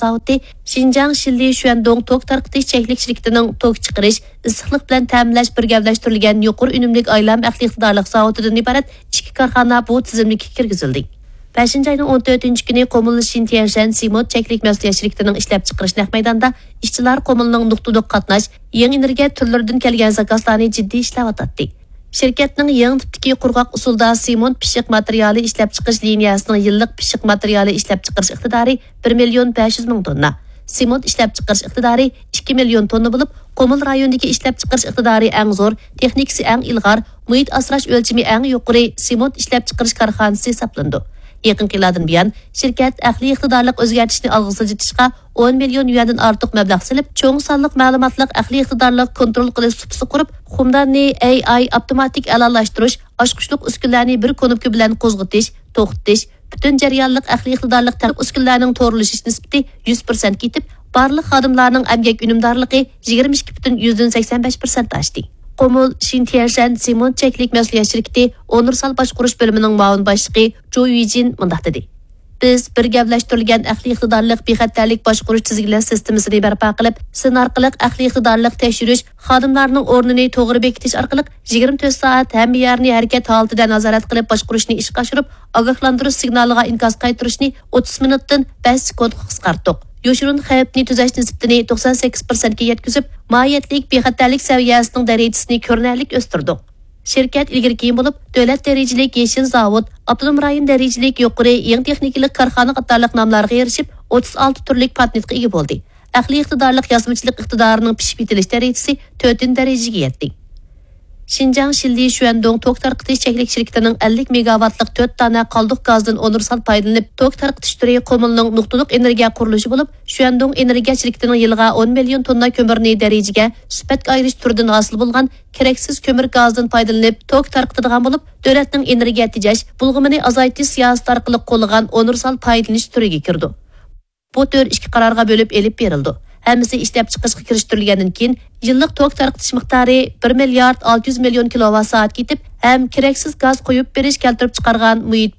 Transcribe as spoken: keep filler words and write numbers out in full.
زاۋۇتى، شىنجاڭ شىنلى شۈەندۇڭ توك تارقىتىش چەكلىك شىركىتىنىڭ توك چىقىرىش، ئىسسىقلىق بىلەن تەمىنلەش بىر گەۋدىلەشتۈرۈلگەن يۇقىرى ئۈنۈملۈك ئايلانما ئەقلىي ئىقتىدارلىق زاۋۇتىدىن ئىبارەت ئىككى كارخانا بۇ تىزىملىككە كىرگۈزۈلدى. بەشىنچى ئاينىڭ ئون تۆتىنچى كۈنى قومۇل شىنتيەنشەن سېمونت چەكلىك مەسئۇلىيەت شىركىتىنىڭ ئىشلەپچىقىرىش نەق مەيدانىدا ئىشچىلار قومۇلنىڭ نۇقتىلىق قاتناش، يېڭى ئېنېرگىيە تۈرلىرىدىن كەلگەن زاكازلارنى جىددىي ئىشلەۋاتاتتى. شىركەتنىڭ يېڭى تىپتىكى قۇرغاق ئۇسۇلدا سېمونت پىششىق ماتېرىيالى ئىشلەپچىقىرىش لىنىيەسىنىڭ يىللىق پىششىق ماتېرىيالى ئىشلەپچىقىرىش ئىقتىدارى بىر مىليون بەش يۈز مىڭ توننا، سېمونت ئىشلەپچىقىرىش ئىقتىدارى ئىككى مىليون توننا بولۇپ، قۇمۇل رايونىدىكى ئىشلەپچىقىرىش ئىقتىدارى ئەڭ زور، تېخنىكىسى ئەڭ ئىلغار، مۇھىت ئاسراش ئۆلچىمى ئەڭ يۇقىرى سېمونت ئىشلەپچىقىرىش كارخانىسى ھېسابلىنىدۇ. يېقىنقى يىللاردىن بۇيان، شىركەت ئەقلىي ئىقتىدارلىق ئۆزگەرتىشنى ئالغا سىلجىتىشقا ئون مىليون يۈەندىن ئارتۇق مەبلەغ سېلىپ، چوڭ سانلىق مەلۇماتلىق ئەقلىي ئىقتىدارلىق كونترول قىلىش سۇپىسى قۇرۇپ، خۇمداننى ئېي ئاي ئاپتوماتىك ئەلالاشتۇرۇش، ئاچقۇچلۇق ئۈسكۈنىلەرنى بىر كۇنۇپكا بىلەن قوزغىتىش، توختىتىش، پۈتۈن جەريانلىق ئەقلىي ئىقتىدارلىق تەرەپ ئۈسكۈنىلەرنىڭ تورلىشىش نىسبىتى يۈز پىرسەنتكە يېتىپ، بارلىق خادىملارنىڭ ئەمگەك ئۈنۈمدارلىقى يىگىرمە ئىككى پۈتۈن يۈزدىن سەكسەن بەش پىرسەنت ئاشتى. قومۇل شىنتيەنشەن سېمونت چەكلىك مەسئۇلىيەت شىركىتى ئۇنىۋېرسال باشقۇرۇش بۆلۈمىنىڭ مۇئاۋىن باشلىقى جۇ يۈجىن مۇنداق دېدى: بىز بىر گەۋدىلەشتۈرۈلگەن ئەقلىي ئىقتىدارلىق بىخەتەرلىك باشقۇرۇش تىزگىنلەش سىستېمىسىنى بەرپا قىلىپ، سىن ئارقىلىق ئەقلىي ئىقتىدارلىق تەكشۈرۈش، خادىملارنىڭ ئورنىنى توغرا بېكىتىش ئارقىلىق يىگىرمە تۆت سائەت ھەممە يەرنى ھەرىكەت ھالىتىدە نازارەت قىلىپ باشقۇرۇشنى ئىشقا ئاشۇرۇپ، ئاگاھلاندۇرۇش سىگنالىغا ئىنكاس قايتۇرۇشنى ئوتتۇز مىنۇتتىن بەش سېكۇنتقا قىسقارتتۇق. يوشۇرۇن خەۋپنى تۈزەش نىسبىتىنى توقسان سەككىز پىرسەنتكە يەتكۈزۈپ، ماھىيەتلىك بىخەتەرلىك سەۋىيەسىنىڭ دەرىجىسىنى كۆرۈنەرلىك ئۆستۈردۇق. شىركەت ئىلگىرى كېيىن بولۇپ، دۆلەت دەرىجىلىك يېشىل زاۋۇت، ئاپتونوم رايون دەرىجىلىك يۇقىرى يېڭى تېخنىكىلىق كارخانا قاتارلىق ناملارغا ئېرىشىپ، ئوتتۇز ئالتە تۈرلۈك پاتېنتقا ئىگە بولدى. ئەقلىي ئىقتىدارلىق يازمىچىلىق ئىقتىدارىنىڭ پىشىپ يېتىلىش دەرىجىسى تۆتىنچى دەرىجىگە يەتتى. شىنجاڭ شىنلى شۈەندۇڭ توك تارقىتىش چەكلىك شىركىتىنىڭ ئەللىك مېگاۋاتلىق تۆت دانە قالدۇق گازدىن ئۇنىۋېرسال پايدىلىنىپ توك تارقىتىش تۈرى قۇمۇلنىڭ نۇقتىلىق ئېنېرگىيە قۇرۇلۇشى بولۇپ، شۈەندۇڭ ئېنېرگىيە شىركىتىنىڭ يىلىغا ئون مىليون توننا كۆمۈرنى دەرىجىگە سۈپەتكە ئايرىش تۈرىدىن ھاسىل بولغان كېرەكسىز كۆمۈر گازىدىن پايدىلىنىپ توك تارقىتىدىغان بولۇپ، دۆلەتنىڭ ئېنېرگىيە تېجەش، بۇلغىمىنى ئازايتىش سىياسىتى ئارقىلىق قوللىغان ئۇنىۋېرسال پايدىلىنىش تۈرىگە كىرىدۇ. بۇ تۈر ئىككى قارارغا بۆلۈپ ئېلىپ بېرىلىدۇ. ھەممىسى ئىشلەپچىقىرىشقا كىرىشتۈرۈلگەندىن كېيىن، يىللىق توك تارقىتىش مىقدارى بىر مىليارد ئالتە يۈز مىليون كىلوۋات سائەتكە يېتىپ، ھەم كېرەكسىز گاز قويۇپ بېرىش كەلتۈرۈپ چىقارغان مۇھىت